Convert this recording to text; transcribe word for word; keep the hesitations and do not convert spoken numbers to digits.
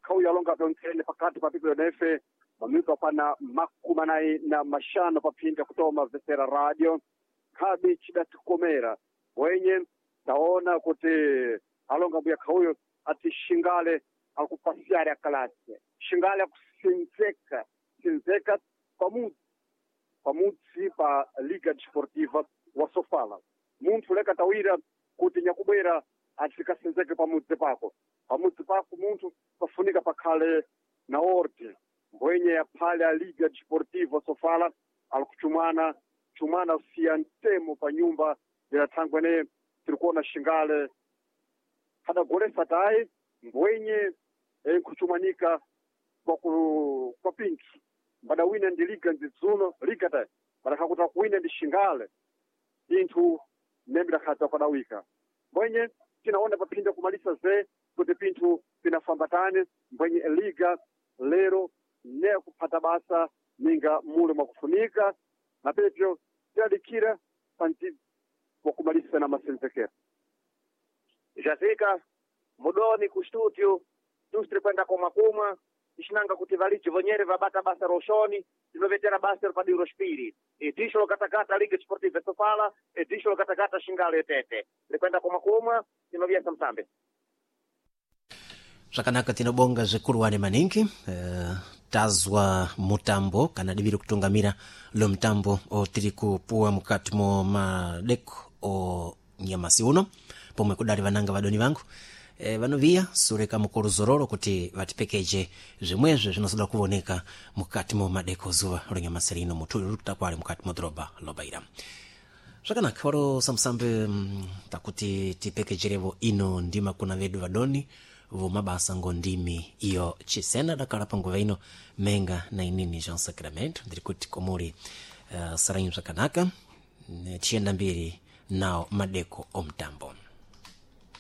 khauyo alonga pyontsene pakati pa pipo yonefe mamitu apana makumi anayi na mashanu paphinda kutoma vesera radio khabi chidatikomera wenye taona kuti alonga mbuya khauyo ati xingale akupasiari akalase xingale akusinzeka sinzeka pamudzi pamudzi pa liga desportiva wa sofala munthu leka tawira kuti nyakubwera atikasinzeke pamudzi pako pamudzi pako munthu pafunika pakhale na orde mbwenye yaphale a liga desportiva sofala alikuchumana chumana siya mtemo pa nyumba ila thangwe ne tirikuona xingale adagolesa tayi mbwenye nkuchumanika kwa ku kwa pinthu mbadawina ndi liga ndidzuno liga tayi badakhakuta kuwina ndi xingale pinthu nembe dakhadza kwadawika mbwenye tinaona paphinda kumalisa ze kuti pinthu pinafambatane mbwenye liga lero ne kuphata basa ninga mule mwakufunika na pepyo tidadikira panti wakumalisa na masenzekero Jazika mudoni ku studio tusitiri kwenda kumwa kumwa ixinanga kuti valiji vonyere vabata basa roxoni tinovetera basa padiro xipiri idixo lokatakata liga desportiva sofala idixo lokatakata xingale etete likwenda kumwa kumwa tinovyesa msambe zvakanaka tinobonga zvikuruwani maningi uh, tazwa mutambo kana diviri kutungamira lo mutambo otiri kupuwa mukati mo madeko o nyamasi uno pomwe kudali vananga vadoni vangu e, vanoviya sure kamukuru zororo kuti vatipekeje zvimwezvo zvinozoda kuvoneka mukati mo madeko zuva ronyamasi rino mutuli rikutakwali mukati mo dhorobha lobaira zvakanaka waro samusambe mm, takuti tipekejerevo ino ndima kuna vedu vadoni vomabasa ngo ndimi iyo chisena dakala panguva ino menga na inini Jean Sacramento ndiri kuti komuri uh, saranyu zvakanaka tichienda mbiri nawo madeko omutambo.